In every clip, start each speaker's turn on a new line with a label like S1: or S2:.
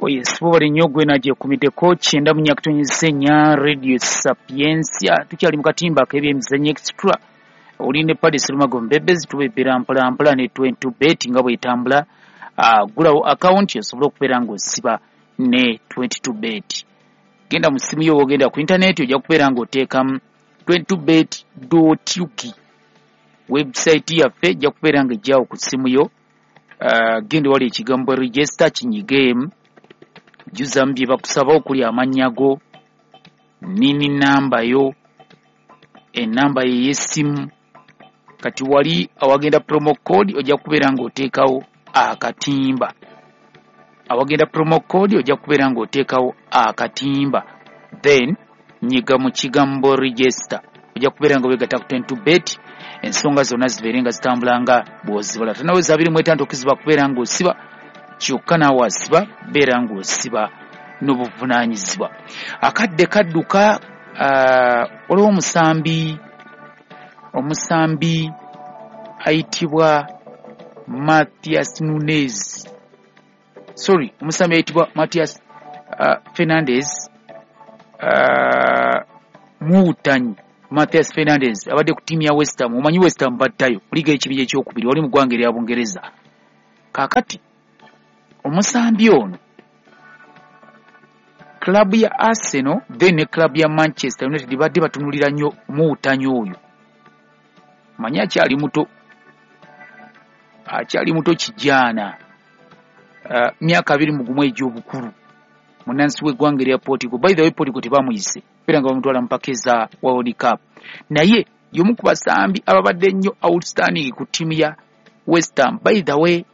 S1: Yes, bubali nnyo gwe nagyekumiddeko 94.4 Radio Sapientia. Tukyali mu katimba ak'ebyemizannyo extra. Oli ne Paddy Serumago Mbebezi, tubebbera mpola mpola ne 22 bet nga bw'etambula. Gulawo akawunti osobole okubeera ng'osiba ne 22 bet. Genda mu ssimu yo, ogenda ku intaneti ojja kubeera ng'oteekamu 22bet.ug. Website yaffe ejja kubeera ng'ejjawo ku ssimu yo. Genda wali ekigambo register kinyigeemu, jjuzamu bye bakusaba okuli amannya go, nini namba yo, ennamba ye ey'essimu. Kati wali awagenda promo code ojja kubeera ng'oteekawo akatimba. Awagenda promo code ojja kubeera ng'oteekawo akatimba, then nyiga mu kigambo register, ojja kubeera nga weegatta ku 22 bet, ensonga zonna zibeere nga zitambula nga bw'ozibala. Tonaweza 25 okuziba kubeera ng'osiba, kyokka naawe asiba beera ng'osiba n'obuvunaanyizibwa. Akadde kadduka. Waliwo omusambi ayitibwa Mathias Nunez, sorry, omusambi ayitibwa Mathias Fernandez, muwutanyi Mathias Fernandez abadde ku ttiimu ya West Ham. Omanyi West Ham battayo mu liiga y'ekibinja ekyokubiri wali mu ggwanga erya Bungereza. Kaakati omusambi ono club ya Arsenal then ne club ya Manchester United badde batunulira nnyo muwutanyi oyo. Manyi akyali muto, akyali muto kijaana, myaka 21 egy'obukulu, munnansi w'eggwanga erya Portugal. By the way, Portugal tebamuyise era nga bamutwala mu mpaka eza World Cup, naye y'omu ku basambi ababadde ennyo outstanding ku ttiimu ya West Ham. By the way,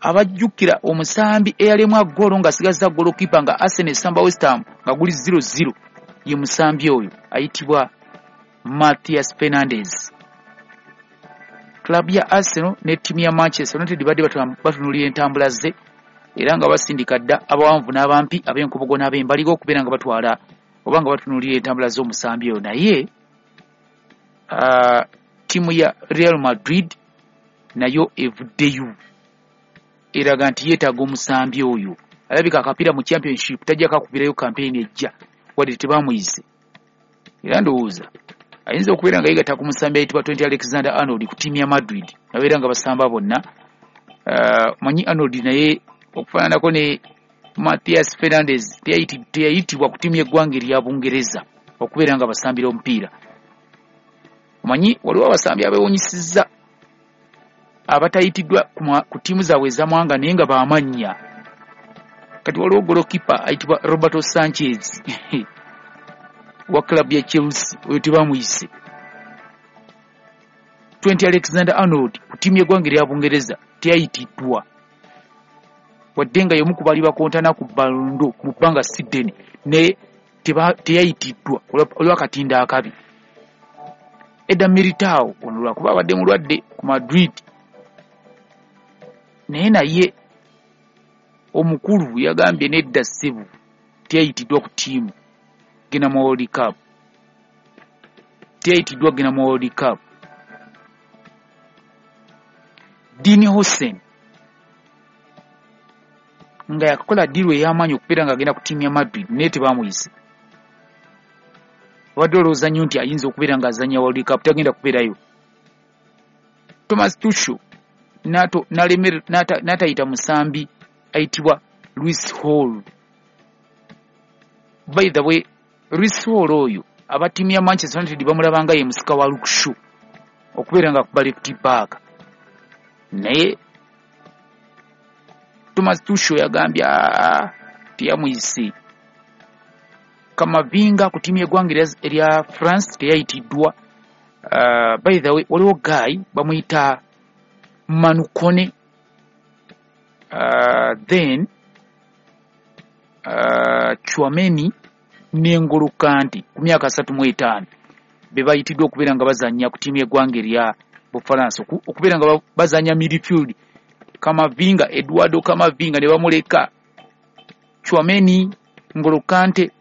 S1: abajjukira omusambi eyalemwa ggoolo ng'asigazza goalkeeper nga Arsenal esamba West Ham nga guli 0-0, ye musambi oyo ayitibwa Mathias Fernandez. Club ya Arsenal ne ttiimu ya Manchester United badde batunuulira entambula ze, era nga basindika dda abawanvu n'abampi, ab'enkobogo n'ab'embaliga okubeera nga batwala oba nga batunuulira entambula z'omusambi oyo. Naye ttiimu ya Real Madrid nayo evuddeyo eraga nti yeetaaga omusambi oyo. Alabika akapiira mu Championship tajja kakubirayo campaign ejja wadde tebamuyise, era ndowooza ayinza okubeera nga yeegatta ku musambi ayitibwa Trent Alexander Arnold ku ttiimu ya Madrid, nabeera nga basamba bonna. Manyi Arnold naye okufaananako ne Mathias Fernandez teyayitibwa ku ttiimu y'eggwanga erya Bungereza okubeera nga basambira omupiira. Omanyi waliwo abasambi abeewunyisizza abatayitiddwa ku ttiimu zaabwe ez'amawanga naye nga baamannya. Kati waliwo goalkeeper ayitibwa Roberto Sanchez wa club ya Chelsea, oyo tebamuyise. Trent Alexander Arnold ku ttiimu y'eggwanga erya Bungereza teyayitiddwa wadde nga y'omu ku baali bakontana ku Ballon d'Or mu bbanga si ddene, naye teyayitiddwa olw'akatinda akabi. Eder Militao ono lwakuba abadde mulwadde ku Madrid, naye omukulu yagambye nedda ssebo, teyayitiddwa ku ttiimu genda mu World Cup, teyayitiddwa genda mu World Cup. Dean Huijsen nga yakakola deal ey'amaanyi okubeera ng'agenda ku ttiimu ya Madrid, naye tebamuyise. Obadde olowooza nnyo nti ayinza okubeera ng'azannya World Cup, tagenda kubeerayo. Thomas Tuchel n'atayita musambi ayitibwa Lewis Hall. By the way, Lewis Hall oyo aba ttiimu ya Manchester United bamulaba nga ye musika wa Luke Shaw okubeera nga akuba left back, naye Thomas Tuchel yagambye teyamuyise. Kamavinga ku ttiimu y'eggwanga erya France teyayitiddwa. By the way, waliwo guy bamuyita Manu Kone, then Tchouameni ne N'Golo Kante ku myaka 35 be bayitiddwa okubeera nga bazannya ku ttiimu y'eggwanga erya Bufalansa, okubeera nga bazannya midfield. Kamavinga, Eduardo Kamavinga ne bamuleka, Tchouameni, N'Golo Kante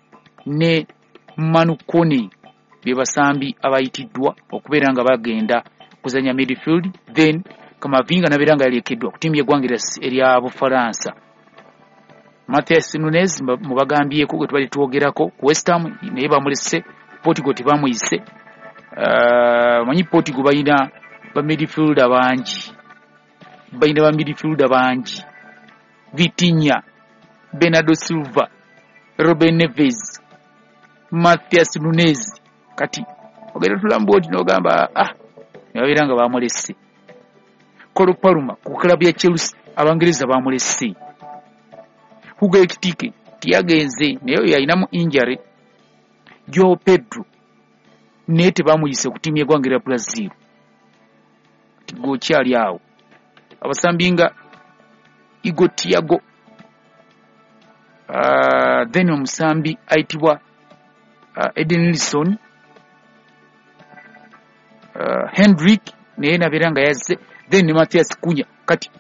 S1: ne Manu Kone be basambi abayitiddwa okubeera nga bagenda kuzannya midfield, then Kamavinga nabeera nga yalekeddwa ku ttiimu y'eggwanga erya Bufalansa. Matheus Nunes mubagambyeko gwe tubadde twogerako ku West Ham, naye bamulese. Portugal tebamuyise. Manyi Portugal balina ba midfielder bangi, balina ba midfielder bangi: Vitinha, Bernardo Silva, Ruben Neves, Matheus Nunes. Kati ogenda tulamba oti n'ogamba ah, ne babeera nga bamulese. Cole Palmer ku club ya Chelsea, Abangereza bamulese. Hugo Ekitike tiyagenze, naye oyo yalinamu injury. Joao Pedro naye tebamuyise ku ttiimu y'eggwanga erya Brazil. Kati gwe okyali awo, abasambi nga Igor Thiago, then omusambi ayitibwa Edenilson, Hendrick naye nabeera nga yazze, then ne Matheus Cunha. Kati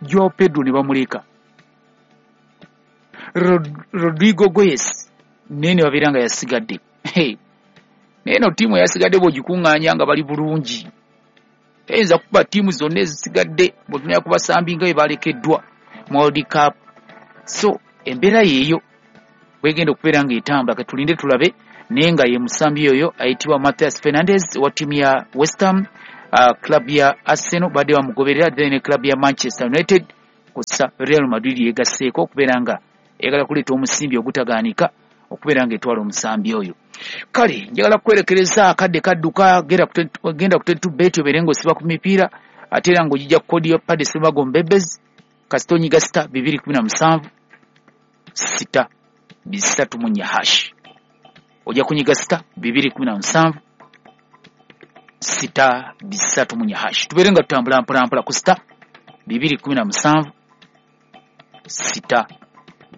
S1: Joao Pedro ne bamuleka. Rodrygo Goes naye ne babeera nga yasigadde. Hey. Naye no ttiimu eyasigadde bw'ogikuŋŋaanya nga bali bulungi, eyinza kuba ttiimu zonna ezisigadde bw'otunula ku basambi nga bwe balekeddwa mu World Cup. So embeera yeeyo bwegenda okubeera ng'etambula, katulinde tulabe. Naye nga ye musambi oyo ayitibwa Matheus Fernandes wa ttiimu ya West Ham, club ya Arsenal badde bamugoberera, then ne club ya Manchester United kussa Real Madrid yegasseeko okubeera nga eyagala kuleeta omusimbi ogutagaanika okubeera ng'etwala omusambi oyo. Kale njagala kukwerekereza, akadde kadduka. Genda ku 22 Bet obeere ng'osiba ku mipiira, ate era ng'ogijja ku kodi ya Padde Serumago Mbebezi. Kasita onyiga *217 *334 hash, ojja kunyiga *217 *334 hash. Tubeere nga tutambula mpolampola ku *217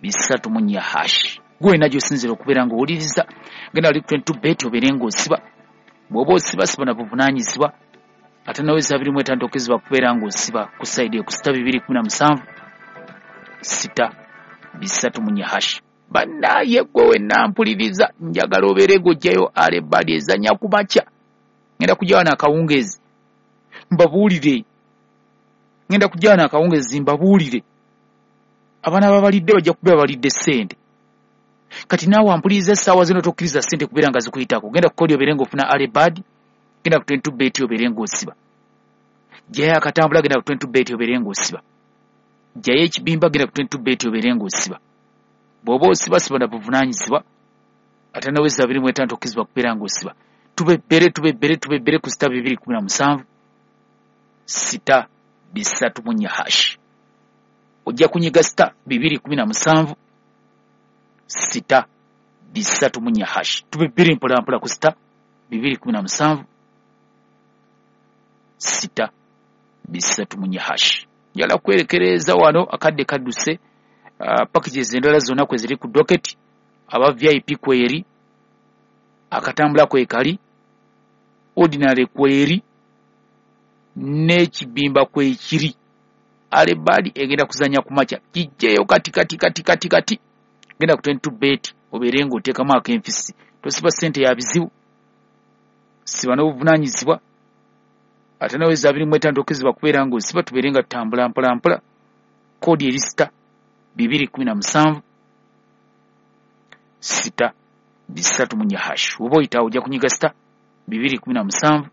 S1: *334 hash. Gwe wena gy'osinziira okubeera ng'owuliriza, genda wali ku 22 Bet obeere ng'osiba. Bw'oba osiba, siba na buvunaanyizibwa. Ate naweza 25 okizibwa kubeera ng'osiba ku side ku *217 *334 hash. Bannaye gwe wenna mpuliriza, njagala obeere ng'ojjayo early bird ezannya ku makya. Ngenda kujja wano akawungeezi mbabuulire, ngenda kujja wano akawungeezi mbabuulire. Abaana babalidde bajja kubeera balidde ssente. Kati naawe ampuliriza essaawa zino, tokkiriza ssente kubeera nga zikuyitako. Genda ku kodi obeere ng'ofuna early bird, genda ku 22 Bet obeere ng'osiba. Jjayo akatambula, genda ku 22 Bet obeere ng'osiba. Jjayo ekibimba, genda ku 22 Bet obeere ng'osiba. Bw'oba osiba, siba na buvunaanyizibwa. Ate naweza 25 tokkirizibwa kubeera ng'osiba. Tubebbere, tubebbere, tubebbere ku *217 *334 hash. Ojja kunyiga *217 *334 hash. Tubebbere mpolampola ku *217 *334 hash. Njagala kwerekereza wano, akadde kadduse. Packages endala zonna kwe ziri ku docket. Aba VIP kweri, akatambula kwekali, ordinary kweri, n'ekibimba kwekiri. Early bird egenda kuzanya ku makya. Kijjeyo kati kati kati kati kati, genda ku 22 Bet obeere ng'oteekamu akenfisi. Tosiba ssente ya bizibu, siba n'obuvunaanyizibwa. Ate naweza 25 tokkirizibwa kubeera ng'osiba. Tubeere nga tutambula mpola mpola. Koodi eri *217 *334 hash. Oba oyitawo ojja kunyiga *217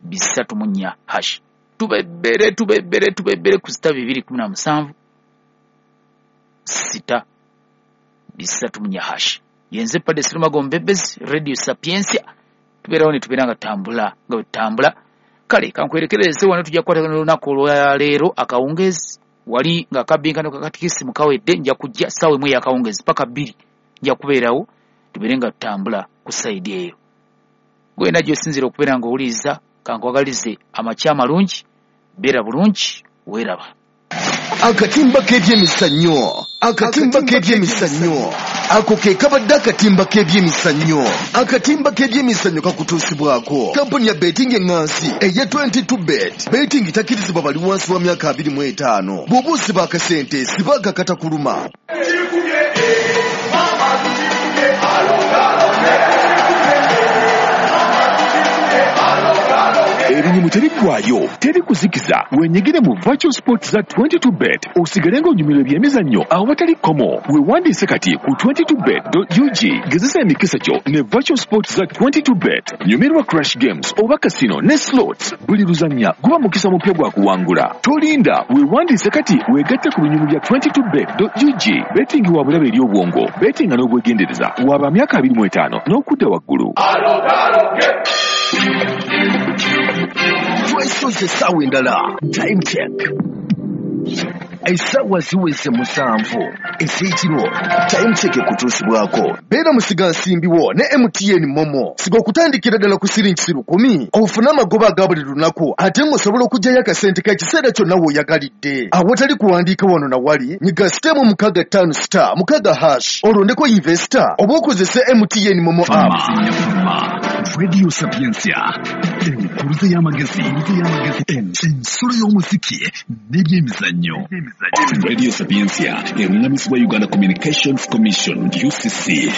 S1: *334 hash. Tubebbere, tubebbere, tubebbere ku *217 *334 hash. Yenze Padde Serumago Mbebezi, Radio Sapientia. Tubeerawo ne tubeera nga tutambula nga bwe tutambula. Kale kankwerekereze wano, tujja kukwatagana olunaku olwaleero akawungeezi wali nga akabbinkano kakatikisimu kawedde. Nja kujja ssaawa 1 ey'akawungeezi paka 2, nja kubeerawo tubeere nga tutambula ku side eyo. Gwe wena gy'osinziira okubeera ng'owuliriza, kankwagalize amakya amalungi. Beera bulungi, weeraba.
S2: Akatimba k'ebyemizannyo, akatimba k'ebyemizannyo, ako ke kabadde akatimba k'ebyemizannyo. Akatimba k'ebyemizannyo kakutuusibwako kampuni ya betting eŋŋansi eya 22 Bet. Betting takkirizibwa bali wansi wa myaka 25. Bw'oba osiba akasente, siba akakatakuluma.
S3: Tukikubye, mama, tukikubye, alo, alo, tukikubye, mama, tukikubye, alo, alo.
S4: Ebinyumu tebiggwayo, teri kuzikiza. Wenyigire mu virtual sports za 22 bet osigale ng'onyumirwa ebyemizannyo awatali kkomo. Weewandiise kati ku 22bet.ug. Gezesa emikisa gyo ne virtual sports za 22 bet. Nyumirwa crash games oba casino ne slots. Buli luzannya guba mukisa mupya gwa kuwangula. Tolinda, weewandiise kati weegatte ku binyumu bya 22bet.ug. Betting wa bulabe eri obwongo, bettinga n'obwegendereza. Waba myaka 25 n'okudda waggulu.
S2: Twesoze essaawa endala. Time check, essaawa ziweze 7 ez'ekiro. Time check ekutuusibwako beera musigansimbiwo ne MTN MoMo. Siga okutandikira ddala ku siringi 10,000 ofune amagoba aga buli lunaku, ate ng'osobola okuggyayo akasente k'ekiseera kyonna w'oyagalidde awatali kuwandiika wano na wali. Nyiga *656*6# olondeko investor oba okozese MTN MoMo app.
S5: Radio Sapientia, enkuluze y'amagezi, ensolo y'omuziki n'ebyemizannyo.
S4: Radio Sapientia eruŋŋamizibwa Uganda Communications Commission, UCC.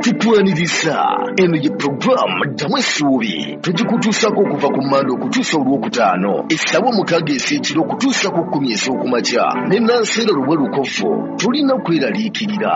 S2: Tukwaniriza. Eno ye puroguramu Ddamu Essuubi. Tugikutuusako okuva ku Mande okutuusa Olwokutaano, essaawa 6 ez'ekiro okutuusa ku 10 ez'okumakya, ne Nanseera Lubwe Lukofu. Tulina kweraliikirira.